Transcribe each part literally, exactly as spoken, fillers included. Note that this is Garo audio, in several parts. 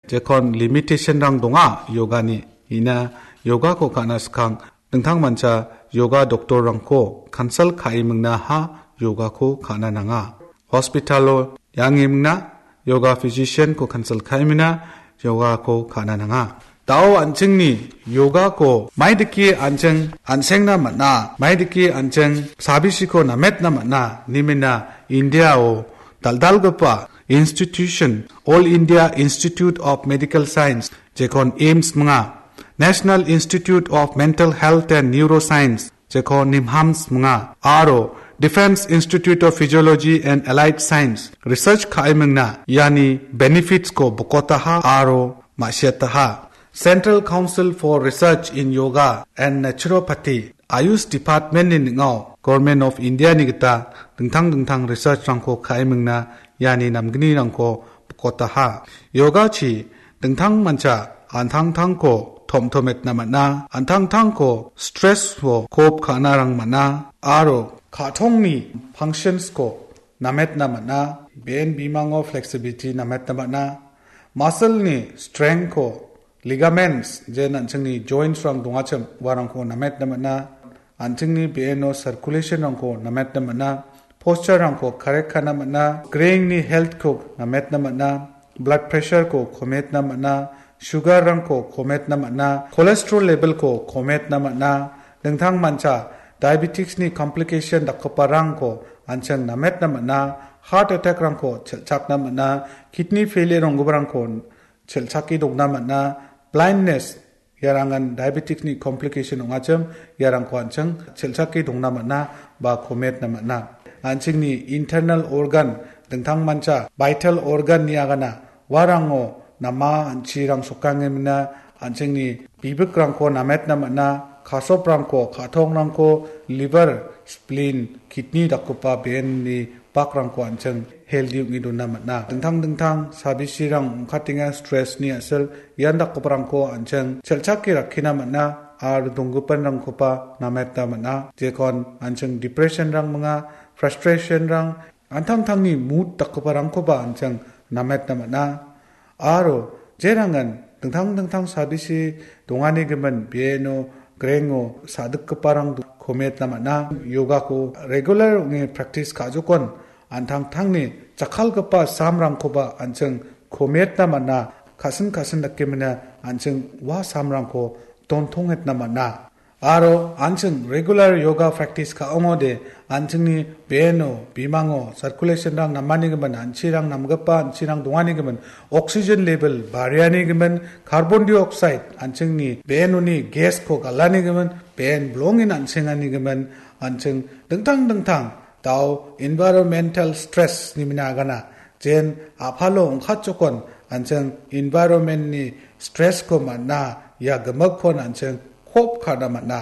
Jekon limitation-rang donga yogani. Ina yogako ka·na skang dingtangmancha yoga doctor-rangko consult ka·e mingna ha yogako ka·na nanga. Hospital-o iange mingna yoga physician-ko consult ka·e mingna yogako ka·na nanga. Dao an·chingni yogako maidake an·ching an·sengna man·a, maidake an·ching sabisiko nametna man·a, nimina India-o dal·dalgipa institution, All India Institute of Medical Science, jekon AIIMS minga, National Institute of Mental Health and Neuroscience, jekon NIMHANS minga, aro Defense Institute of Physiology and Allied Science research ka·e mingna iani benefits-ko bokotaha aro ma·siataha. Central Council for Research in Yoga and Naturopathy, Ayush Department-ni ning·o Government of India-ni gita dingtang dingtang research-rangko ka·e mingna iani namgnirangko bokotaha. Yogachi dingtangmancha an·tangtangko tomtometna man·a, an·tangtangko stress-o cope ka·narang man·a, aro ka·tongni functions-ko nametna man·a, be·en bimango flexibility nametna man·a, muscle-ni strength-ko, ligaments, je an·chingni joints-rang dongachim, uarangko nametna man·a, an·chingni be·eno circulation-rangko nametna man·a, posture-rangko correct ka·na man·a, grain-ni health-ko nametna man·a, blood pressure-ko kometna man·a, sugar-rangko kometna man·a, cholesterol level-ko kometna man·a, dingtangmancha diabetes-ni complication dakgiparangko an·ching nametna man·a, heart attack-rangko chel·chakna man·a, kidney failure onggiparangko chel·chake dongna man·a, blindness, iarangan diabetes-ni complication ong·achim, iarangko an·ching chel·chake dongna man·a ba kometna man·a. An·chingni internal organ, dingtangmancha vital organ-ni agana, uarango nama an·chirang sokangemina, an·chingni bibikrangko nametna man·a, kasoprangko, ka·tongrangko, liver, spleen, kidney dakgipa be·enni bakrangko an·ching healthy ong·e dona man·a. Dingtang dingtang sabisirang ong·katenga stress-ni a·sil, ian dakgiparangko an·ching chel·chake rakkina man·a, aro donggipanrangkoba nametna man·a. Jekon an·ching depression-rang minga, frustration-rang, an·tangtangni mood dakgiparangkoba an·ching nametna man·a. Aro jerangan dingtang dingtang sabisi donganigimin bieno, grengo, sadikgiparang kometna man·a. Yogako regular ong·e practice ka·jokon an·tangtangni jakkalgipa samrangkoba an·ching kometna man·a. Kasin kasin dakemina an·ching ua samrangko dontongetna man·a. Aro an·ching regular yoga practice ka·ongode, an·chingni beno, bimango, circulation-rang namanigimin, an·chirang namgipa, an·chirang donganigimin, oxygen level barianigimin, carbon dioxide, an·chingni benoni gas-ko galanigimin, ben bilongin an·senganigimin, an·ching dingtang dingtang dao environmental stress-ni mina agana, jen a·palo ong·katjokon an·ching environment-ni stress-ko man·a, ia gimikkon an·ching cope ka·na man·a.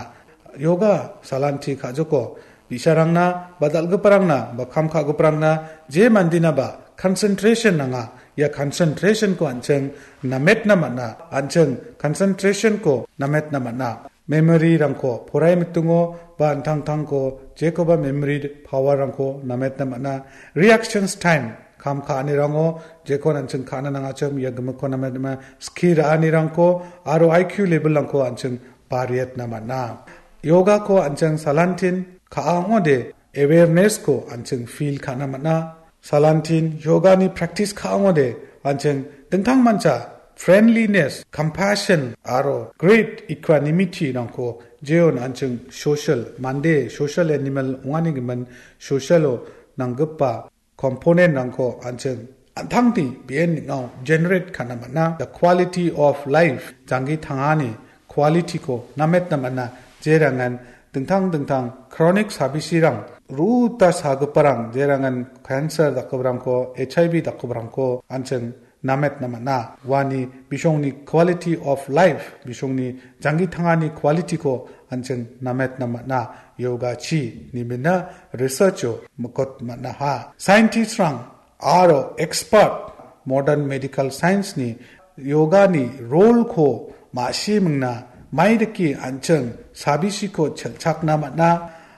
Yoga salanti ka·joko, bi·sarangna ba dal·giparangna ba kam ka·giparangna je mandinaba concentration nanga, ia concentration-ko an·ching nametna man·a, an·ching concentration-ko nametna man·a. Memory-rangko, porai mitingo ba an·tangtangko, jekoba memory power-rangko nametna man·a. Reactions time, kam ka·anirango, jekon an·ching ka·na nangachim, ia gimikko nametna man·a. Skie ra·anirangko, aro I Q level-rangko an·ching bariatna man·a. Yogako an·ching salantin ka·a ong·ode, awareness-ko an·ching feel ka·na man·a. Salantin yogani practice ka·ongode, an·ching dingtangmancha friendliness, compassion, aro great equanimity-rangko jeon an·ching social, mande social animal ong·anigimin social-o nanggipa component-rangko an·ching an·tangni be·en ning·o generate ka·na man·a. The quality of life, janggi tangani quality-ko nametna man·a, jerangan dingtang dingtang chronic sabisirang, ruta sagiparang, jerangan cancer dakgiparangko, H I V dakgiparangko an·ching nametna man·a. Uani bisongni quality of life, bisongni janggi tangani quality-ko an·ching nametna man·a. Yogachi nimina research-o mikot man·aha. Scientist-rang aro expert modern medical science-ni yogani role-ko ma·si mingna, maidake an·ching sabisiko chel·chakna man·a,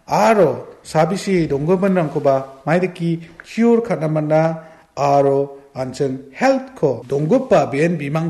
aro sabisi donggiminrangkoba maidake cure ka·na man·a, aro an·ching health-ko donggipa be·en bimang